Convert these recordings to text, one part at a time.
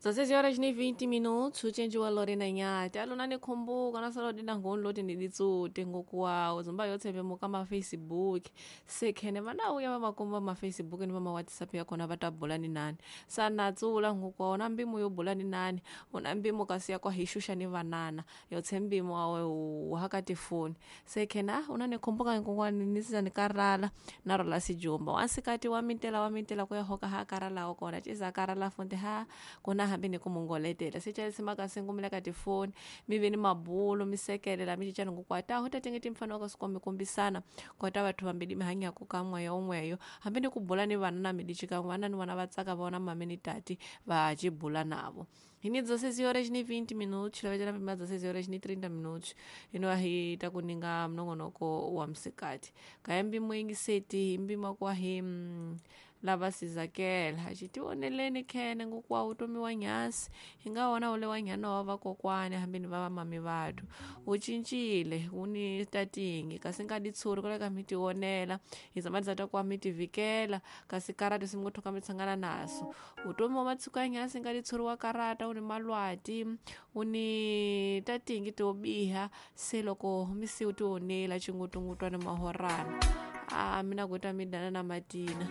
16 horas ni 20 minutos uchenji wa Lorena Nyati alona nikhumbuka nasolo dina ngoni loti ndiditsute ngokuwawo zomba yotsepe muka ma Facebook sekhene vanauya vamakomba ma Facebook ni vama WhatsApp yakona vatabula ni nani sanatsula ngokuwawo na mbimu yo bula ni nani una mbimu kasi yakwa hixuxa ni vanana yotse mbimu awe uhaka tifoni sekhene ah una nikhumbuka nkokwani nisiza nikarala na rola sijumba wansikati wa mintela kuya hoka ha karalawo kona ciza karala fonte ha kona hambi ni kumungoletela sechalisi singumila ka tifoni mi ve ni mabulo mi sekelela mi cincana ngokwata ho ta tenge timfanelo ka swi kombisana kota vathu vambili mi hanyaku ka n'weyo n'weyo hambi ni ku bula ni vana na mi dicika vana ni vana va tsaka vona mame ni tati va cibula navo hi ni 16 horas ni 20 minutos lavecela pima 16 horas ni 30 minutos ino hi ta ku ninga mnongonoko wa msikati kaya mbimo yingiseti hi mbima kwa hi lava sizakela xitioneleni khene ngokuwa utomi wa nyasi hi nga wona ule wa nyana wa vakokwani hambi ni va vamami vathu wu cincile wu ni tatingi kasi nga di tshuri ku leka mi tionela hi zama ta kuwa mi tivikela kasi karata swi ngo thoka mi tshangana naso utomi wa matsiko ya nyasi nga di tshuri wa karata wu ni malwati wu ni tatingi to biha se loko mi si u tionela xingutungutwana mahorana a mina kuta mi dana na matina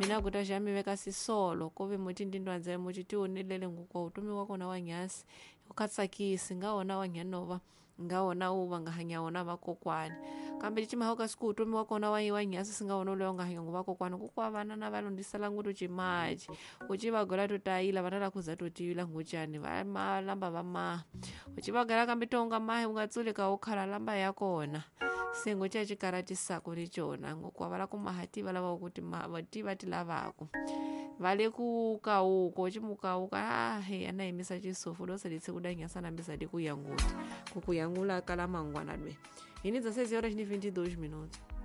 mina kuta xa mi veka sisolo ko ve muti ndindwandzele muti tionelele ngokuwa utomi wa kona wa nyasi u kha tsakisi nga wona wa nyanova nga wona wu va nga hanya wona vakokwani kambe cimahau ka siku utomi wa kona wa wa nyasi si nga wona loyi nga hanya ngo vakokwani kukwa vana na va londzisela ngutu cimaci uci va gola to tayila vana la kuza to tiyila ngucani va ma lamba va maha uci va gola kambe tonga mahi u nga tsuli ka u khala lamba ya kona sengo ca cikaratisako ni cona ngokuwa va la ku maha ti va lavaku kuti ti va ti lavaku va le ku kawuko cimukawuka ah he ana yimisa cisufu lo selitse kudanyasa nambisa di kuyanguti kukuyangula kala mangwana lwe hi ni 16 horas ni 22 minutos.